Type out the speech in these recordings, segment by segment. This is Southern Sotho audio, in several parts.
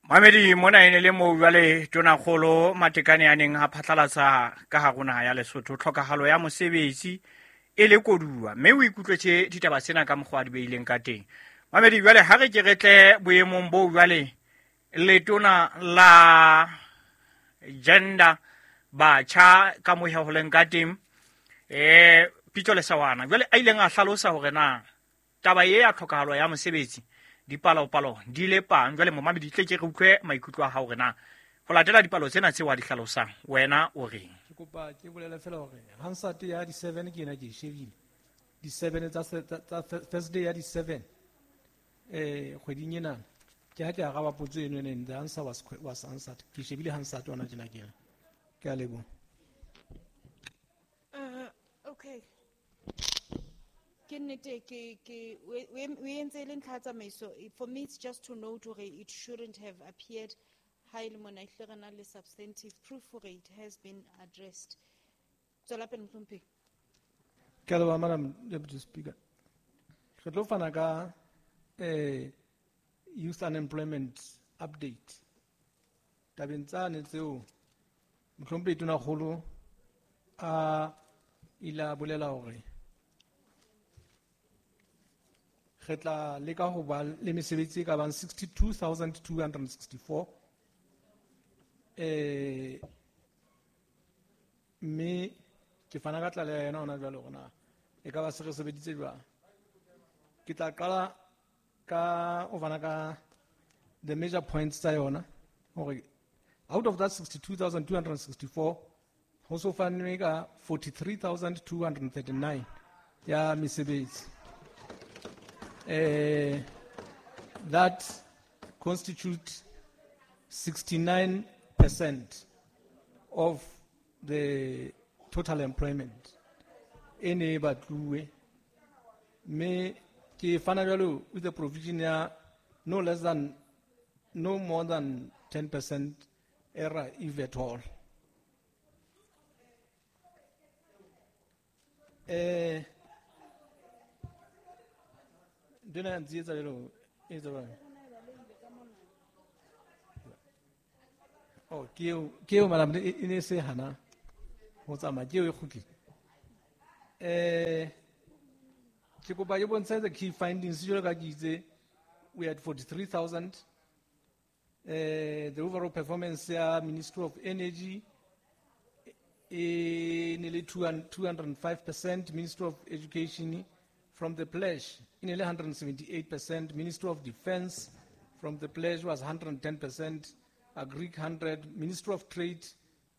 Mamedi mona e ne le moo jwale Tonakgolo Matekane a neng a phatlalatsa ka hare ho naha ya Lesotho tlhokahalo ya mosebetsi e le koduwa, mme o ikutlwetse ditaba tsena ka mokgwa a di beileng ka teng. Mamedi jwale ha re ke re tle boemong boo jwale letona la gender batjha ka mohe ho leng ka teng Pitso Lesawana jwale a ileng a hlalosa hore na taba e ya tlhokahalo ya mosebetsi dipalopalo di le pang. Jwale momamedi tle ke re utlwe maikutlo a hao hore na ho latela dipalo tsena tseo a di hlalosang wena o reng. Ke kopa ke bolele fela hore Hansard ya di 7 ke ena ke e shebile. Di 7 tsa Thursday ya di 7 kgweding ena ke ha ke araba potso eno ene, the answer was answered. Ke shebile Hansard hona tjena ke ena. Ke a leboha. Okay. Ke nnete ke o entse le ntlha ya tsamaiso. For me it's just to note hore it shouldn't have appeared ha e le mona ehlile re na le substantive proof hore it has been addressed. Tswela pele mohlomphehi. Ke a leboha, Madam Deputy Speaker. Re tlo fana ka youth unemployment update. Tabeng tsane tseo mohlomphehi Tonakgolo a ile a bolela hore re tla leka ho ba le mesebetsi e ka bang 62,264. Mme ke fana ka tlaleho ya yona hona jwale hore na e ka ba se re sebeditse jwang. Ke tla qala ka ho fana ka the major points tsa yona hore out of that 62,264 ho so fanwe ka 43,239 ya mesebetsi. That constitutes 69% of the total employment. E ne e batluwe. Mme ke fana jwalo with the provision ya no less than, no more than 10% error if at all. Ntho ya ntsietsa jwalo, e etsa jwang? Oh, ke eo, madam, e ne se hana ho tsamaya, ke eo e kgutlile. Ke kopa ke bontshe the key findings jwalo ka ke itse, we had 43,000. The overall performance ya Ministry of Energy e ne le 205%, Ministry of Education from the pledge e ne le 178%, Ministry of Defense from the pledge was 110%, Agric 100, Ministry of Trade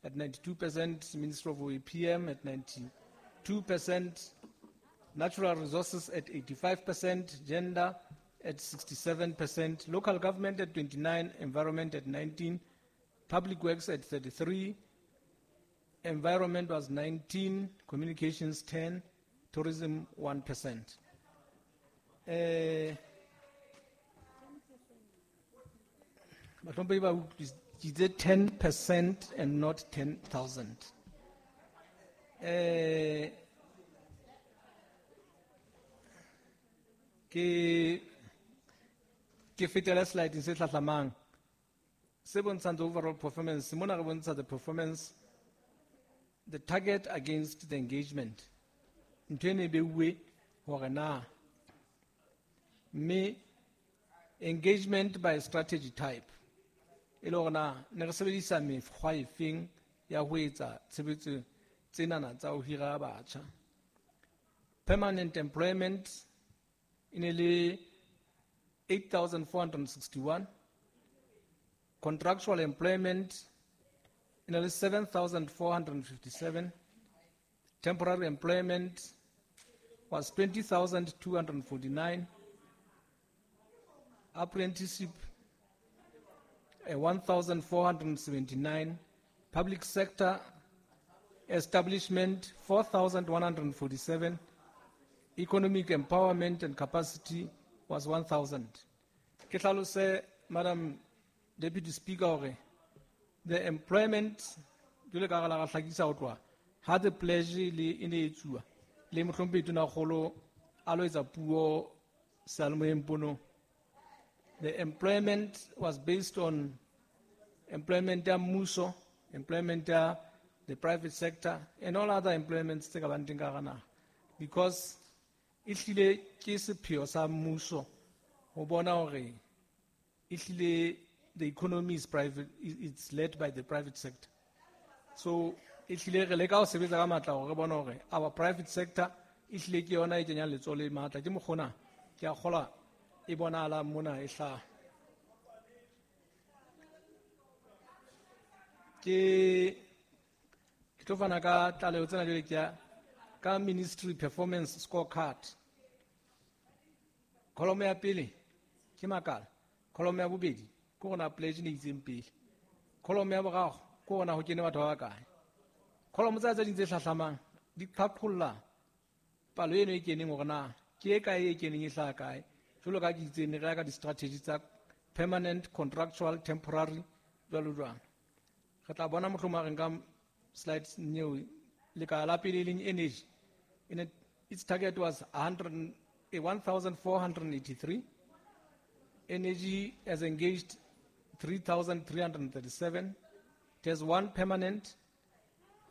at 92%, Ministry of OEPM at 92%, Natural Resources at 85%, Gender at 67%, Local Government at 29, Environment at 19, Public Works at 33, Environment was 19, Communications 10, Tourism 1%. Bahlomphehi ba utlwisitse 10% and not 10,000. Ke fetela slide se hlahlamang se bontshang the overall performance. Mona re bontsha the performance, the target against the engagement. Ntho e ne e beuwe hore na mme engagement by strategy type e le hore na ne re sebedisa mekgwa efeng ya ho etsa tshebetso tsenana tsa ho hira batjha. Permanent employment e ne le 8,461. Contractual employment e ne le 7,457. Temporary employment was 20,249. Apprenticeship, 1,479. Public sector establishment, 4,147. Economic empowerment and capacity was 1,000. Ke hlalose, Madam Deputy Speaker, hore the employment, jwalo ka re la ra hlakisa ho tloha, ha the pledge le e ne e etsuwa, le mohlomphehi Tonakgolo a lo etsa puo seyalemoyeng ponong. The employment was based on employment ya mmuso, employment ya the private sector, and all other employments tse ka bang teng ka hara naha. Because ehlile ke sepheo sa mmuso ho bona hore ehlile the economy is private, it's led by the private sector. So ehlile re leka ho sebetsa ka matla hore re bone hore our private sector ehlile ke yona e kenyang letsoho le matla. Ke mokgona ke a kgolwa e bonahalang mona e hlaha. Ke tlo fana ka tlaleho tsena jwale ke ya ka ministry performance scorecard. Column ya pele ke makala, column ya bobedi ke hore na pledge ne itseng pele, column ya boraro ke hore na ho kene batho ba bakae. Column tsa tse ding tse hlahlamang di qhaqholla palo eno e keneng hore na ke e kae e keneng e hlaha kae. Jwalo ka ke itse ne re ya ka di-strategy tsa permanent, contractual, temporary, jwalo jwalo. Re tla bona mohlomong ha re nka slides neo lekala la pele e leng energy. Its target was 1,483. Energy has engaged 3,337. It has one permanent,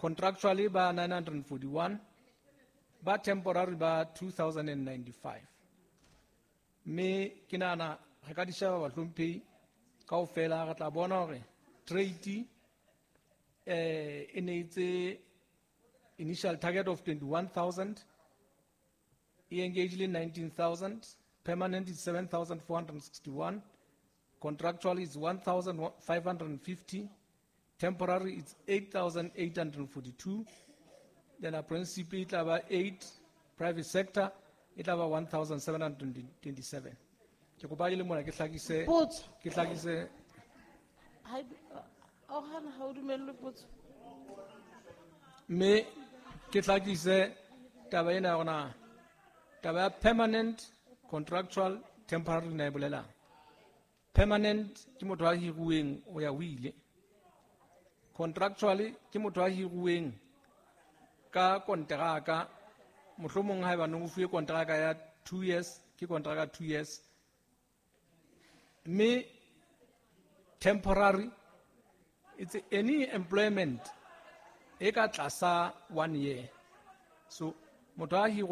contractually by 941, but temporary by 2,095. Me ke nahana re ka di sheba bahlomphehi kaofela, re tla bona hore trade e ne itse initial target of 21,000, e engaged in 19,000, permanent is 7,461, contractual is 1,550, temporary is 8,842, then apprenticeship e tla ba 8, private sector e tla ba 1,727. Ke kopa le mona ke hlakise, Potso. ke hlakise. Ha o hana ha o dumellwe potso. Mme ke hlakise taba ena ya rona, taba ya permanent, contractual, temporary na e bolelang. Permanent ke motho a hiruweng o ya ho ile. Contractually ke motho a hiruweng ka konteraka, mohlomong haeba ne o fuwe konteraka ya 2 years, ke konteraka 2 years. Mme temporary, it's any employment e ka tlasa 1 year. So motho a hirwa